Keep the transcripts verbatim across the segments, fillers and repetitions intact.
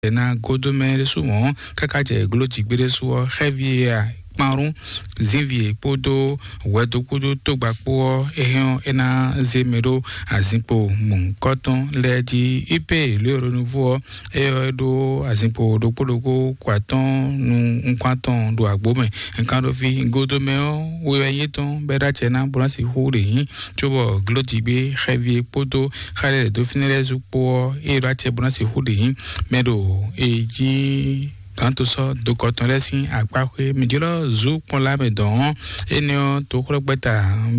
ná godo mɛ ɖésú mɔ̌, káká jɛ gló jǐgbé ɖésú ɔ́, xɛ́ví e a kpán rún zínvi e kpódó hwɛdo kpódó tógba kpó ɔ́, é hɛn ɔ́, é ná zé mɛ ɖó azinkpo mɔ̌hunkɔtɔn lɛ́ɛ jí. Ipe lě e Ronuvo ɔ́, é ɔ́, é ɖó azinkpo ɖokpó ɖokpó kó atɔ́ɔ́n nú nukún atɔn ɖo agbo mɛ. Nkan ɖo fi godo mɛ ɔ́, we wɛ nyí étɔn bɔ é ɖó acɛ ná bó ná sixú ɖe nyí, cóbɔ glójigbé xɛví e kpódó xá ɖé lɛ̌ dó fínɛ́ lɛ́ɛ zú kpó ɔ́, é ɖó acɛ bó ná sixú ɖe nyí mɛ ɖo e jí gǎn to sɔ́ dokɔ tɔn lɛ́ɛ sín akpá xwé. Mǐ jlɔ́ zú kpɔ́n lá mɛ dɔn ɔ́, énɛ́ ɔ́, toxwlɛ́gbɛ́ta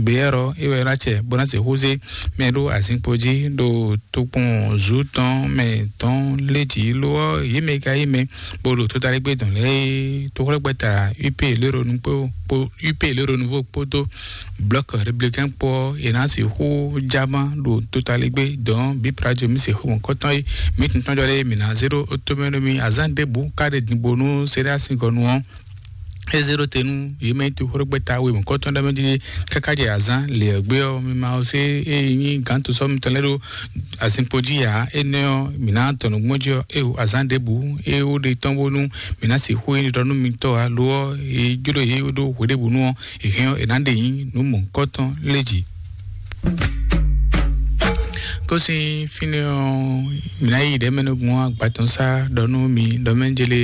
Beyɛ́rɔ é wɛ ná cɛ bó ná sixú zé mɛ ɖó azinkpo jí ɖo tokpɔn zú tɔn mɛ tɔn lé jǐ. Lo ɔ́, yě mɛ e ka yí mɛ bó ɖo tótalégbé dɔn lɛ́ɛ é, toxwlɛ́gbɛ́ta U P léronu kpó U P léronu vo kpódó blɔ̌k républicain kpó ɔ́, è nǎ sixú jámá ɖo tótalégbé dɔn bí prajo mí sixú mɔ̌kɔtɔn é. Mǐ tún tɔ́n jɔ ɖé mǐ ná zé ɖó tómɛ nú mì azán ɖěbǔ ká ɖe dǐnbó nú Seɖási gɔ́ nu ɔ́. É zé ɖó te nú yě mɛ nyí toxóɖógbɛ́ta we mɔ̌kɔtɔn ɖ'é mɛ jí káká jɛ azǎn lě ɔ́ gbé ɔ́, mi ma ɔ sé é nyí gǎn to sɔ́ mitɔn lɛ́ɛ ɖó azinkpo jí ǎ. Énɛ́ ɔ́, mǐ ná tɔn nǔgbó jí ɔ́, é o azǎn ɖěbǔ é ó ɖe tɔ́n bónú mǐ ná sixú nyí ɖiɖɔ nú mitɔ́ ǎ. Lo ɔ́, é jló yě ɖó hweɖěbǔnu ɔ́, è hɛn ɔ́, è nǎ ɖe nyí nǔ mɔ̌kɔtɔn lé jí. Kó sín fínɛ́ ɔ́, mǐ ná yi ɖɛ̌mɛnúgbɔn agbatɔn sá ɖɔ nú mi ɖɔ mɛ jele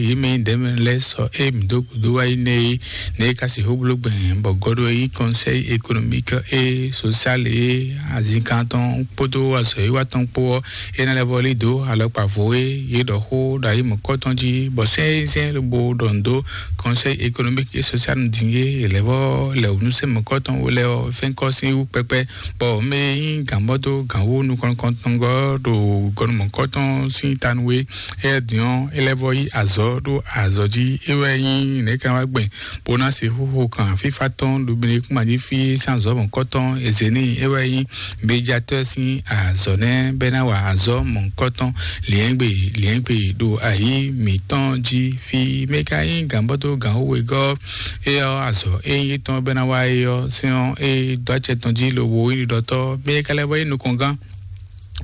yě mɛ nyí ɖɛ̌mɛ lɛ́ɛ sɔ é mǐ dó gǔdo wá yi nɛ́ é, nɛ́ é ka sixú bló gbɛn bɔ gɔ́ ɖó é nyí Conseil économique et social é azinkan tɔn kpódó azɔ̌ e wá tɔn kpó ɔ́, é ná lɛ́ vɔ́ lí dǒ alɔkpa vo e yě ɖɔ xó ɖo ayi mɔ̌kɔtɔn jí, bɔ sɛ́n e zɛ́n lobo ɖɔ nǔ dó Conseil économique et social din e è lɛ́ vɔ́ lɛ wǔ nú sɛ́n mɔ̌kɔtɔn wo lɛ́ɛ ɔ́ fɛ́nkɔ́ sín wú kpɛkpɛ. Bɔ mɛ e nyí gǎnbɔ́ dó gǎnwó nukɔn nukɔntɔngɔ́ ɖo gɔnumɔ̌kɔtɔn sín tanu e, é din ɔ́, é lɛ́ vɔ́ yí azɔ̌ ɖó azɔ̌ jí. É wɛ nyí nɛ̌ kan wá gbɛn bó ná se xóxó kan fífá tɔn ɖo Benikúma jí fí sín azɔ̌ mɔ̌kɔtɔn e zě n'i. É wɛ nyí médiatɔ́ sín azɔ̌ nɛ́ bɛ́ ná wa azɔ̌ mɔ̌kɔtɔn liɛ̌ngbe liɛ̌ngbe ɖo ayǐ mǐtɔn jí. Fí mɛ ka nyí gǎnbɔ́ dó gǎnwó wegɔ́ é ɔ́, azɔ̌ e nyí étɔn bɛ́ ná wa é ɔ́, sɛ́n ɔ́, é dó acɛ tɔn jí lobo nyí ɖiɖɔtɔ́. Mɛ ka lɛ́ vɔ nyí nukɔngán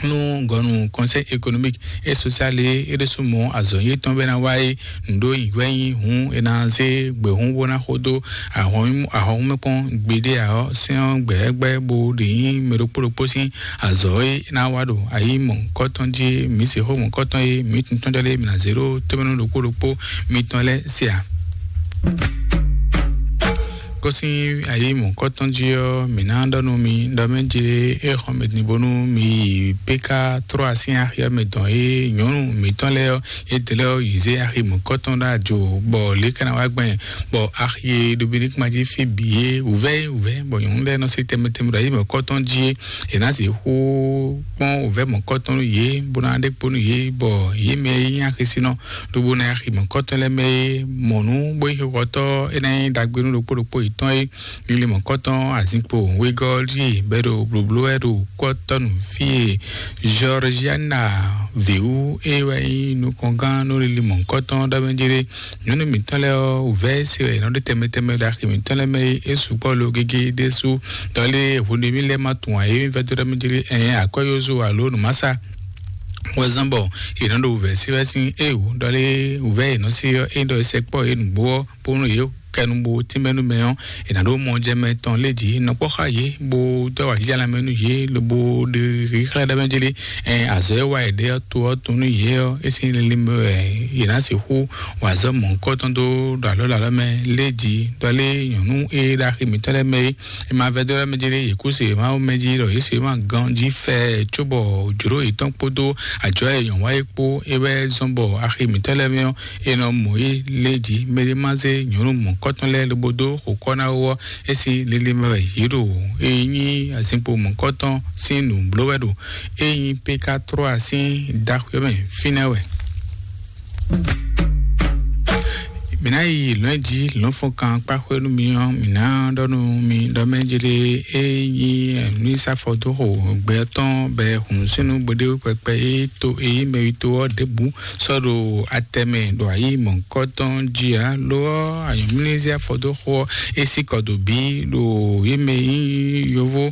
nú gɔnu Conseil économique et social é, é ɖésú mɔ azɔ̌ yětɔn bɛ́ ná wa é. Nǔɖó nyǐhwɛ́ nyí hǔn è nǎ zé gběhún bó ná xo dó ahɔnmɛkpɔ́n gbeɖé ǎ ɔ́, sɛ́n ɔ́ gbɛ̌gbɛ́ bó ɖě nyí mɛ ɖokpó ɖokpó sín azɔ̌ e ná wa ɖo ayi mɔ̌kɔtɔn jí é. Mǐ se xó mɔ̌kɔtɔn e mǐ tun tɔn jɔ lé mǐ ná zé ɖó tómɛnú ɖokpó ɖokpó mitɔn lɛ́ɛ se ǎ. Kó sín ayi mɔ̌kɔtɔn jí ɔ́, mǐ ná ɖɔ nú mi ɖɔ mɛ jlé é xɔ mɛ din bónú mi yi P K trois sín axi ɔ́ mɛ dɔn é nyɔ̌nu mǐtɔn lɛ́ɛ ɔ́, é dlɛ́ ɔ́ yi zé axi mɔ̌kɔtɔn ɖó ajo, bɔ lě ka ná wá gbɛn, bɔ axi e ɖo Benikúma jí fí bǐ é wǔvɛ́ é wǔvɛ́, bɔ nyɔ̌nu lɛ́ɛ nɔ sí tɛnmɛ tɛnmɛ ɖo ayi mɔ̌kɔtɔn jí é. È nǎ sixú kpɔ́n wǔvɛ́ mɔ̌kɔtɔn nú yě, bó ná ɖe kpo nú yě, bɔ yě mɛ e nyí axisínɔ lobo ná yi axi mɔ̌kɔtɔn lɛ́ɛ mɛ é mɔ nǔ bó nyí xixɔtɔ́ é ná nyí ɖagbe nú ɖokpó ɖokpó yětɔn é. Lili mɔ̌kɔtɔn azinkpo wegɔ́ jí bɛ́ ɖo blǒbló wɛ ɖo kɔ́tɔ́nu fí e Georgiana Veu é wɛ nyí nukɔngán nú lili mɔ̌kɔtɔn ɖɔ mɛ jlé. Nyɔ̌nu mǐtɔn lɛ́ɛ ɔ́, wǔvɛ́ se wɛ è nɔ ɖó tɛnmɛ tɛnmɛ ɖo axi mǐtɔn lɛ́ɛ mɛ é, é sukpɔ́ lo gégé ɖésú. Dɔ lé hwenu e mí lɛ́ ma tunwun ǎ é, mí vɛ́ dó ɖɔ mɛ jlé ɛn akwɛ́ yózó alo nǔmásá wɛ zɔ́n bɔ è nɔ ɖo wǔvɛ́ sí wɛ sín é wǔ. Dɔ lé wǔvɛ́ è nɔ sí ɔ́, é ɖɔ è sɛkpɔ́ yě nǔgbó ɔ́, bónú yě kɛnu bo tínmɛ nú mɛ ɔ́, è nǎ ɖó mɔjɛmɛ tɔn lé jǐ nɔ kpɔ́ xá yě, bó dó awǎjijɛ lanmɛ nú yě, lobo ɖe xíxlɛ́ ɖɔ mɛ jlé ɛn azɔ̌ e wa è ɖe ɔ́ to ɔ́ tun nú yě ɔ́, é sín lili mɛ wɛ yě ná sixú wa azɔ̌ mɔ̌hunkɔtɔn dó ɖo alɔ ɖo alɔ mɛ lé jǐ. Dɔ lé nyɔ̌nu e ɖo axi mǐtɔn lɛ́ɛ mɛ é, è ma vɛdó ɖɔ mɛ jí ɖé yě kú se Mawu mɛ jí ɖɔ yě se ma gán jí fɛ cóbɔ jǒɖó yětɔn kpódó ajɔ̌ e nyɔ̌ wa é kpó é wɛ zɔ́n bɔ axi mǐtɔn lɛ́ɛ mɛ ɔ́, è nɔ mɔ yé lé jí. Mɛ ɖé ma zé nyɔ̌nu mɔ̌kɔtɔn lɛ́ɛ lobo dó xo kɔ́ ná wú ɔ́, é sín lili mɛ wɛ yě ɖo. É nyí azinkpo mɔ̌kɔtɔn sín nǔ bló wɛ ɖo. É nyí P K trois sín ɖaxwé mɛ fínɛ́ wɛ. Mǐ ná yi lɔ̌n jí lɔ̌nfɔnkan kpáxwé nú mi ɔ́, mǐ ná ɖɔ nú mi ɖɔ mɛ jlé é nyí mínísítà fɔdóxo gbɛ tɔn bɛ hǔn sínú gbéɖéwú kpɛkpɛ é to é nyí mɛwító ɔ́ ɖěbǔ sɔ́ ɖo atɛmɛ ɖo ayǐ mɔ̌hunkɔtɔn jí ǎ. Lo ɔ́, anyɔ̌mlízí afɔdóxo ɔ́ é sí kɔ dǒ bí ɖo yě mɛ nyí yovó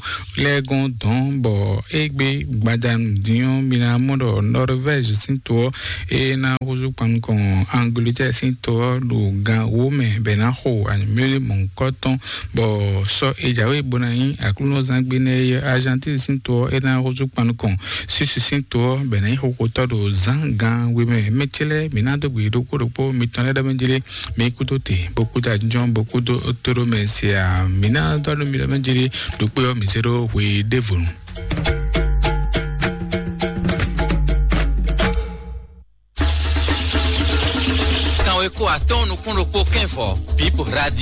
lɛ́ɛ gɔ́n dɔ̌n, bɔ égbé gbadanu dín ɔ́, mi ná mɔ ɖɔ Norvège sín to ɔ́ é ná húzú kpan nukɔn Angleterre sín to ɔ́ ɖo gan wǒ mɛ bɔ è nǎ xo anyǔmlélí mɔ̌hunkɔtɔn, bɔ sɔ́ è jǎwe bó ná nyí aklúnɔzán gbe nɛ́ é Argentine sín to ɔ́ é ná húzú kpan nukɔn Suisse sín to ɔ́ bɔ è nǎ nyí xóxótɔ́ ɖo zǎn gan we mɛ. Mɛ ce lɛ́ɛ mǐ ná dó gbe ɖokpó ɖokpó mitɔn lɛ́ɛ ɖɔ mɛ jlé, mi kúdó te bó kúdó ajínjɔ́n bó kúdó tóɖó mɛ se ǎ. Mǐ ná dó nú mi ɖɔ mɛ jlé ɖokpó ɔ́ mǐ zé ɖó hwe ɖěvo nu. Kanwe ko atɔ́ɔ́n nukún ɖokpó kɛ́nvɔ, Bib Radio.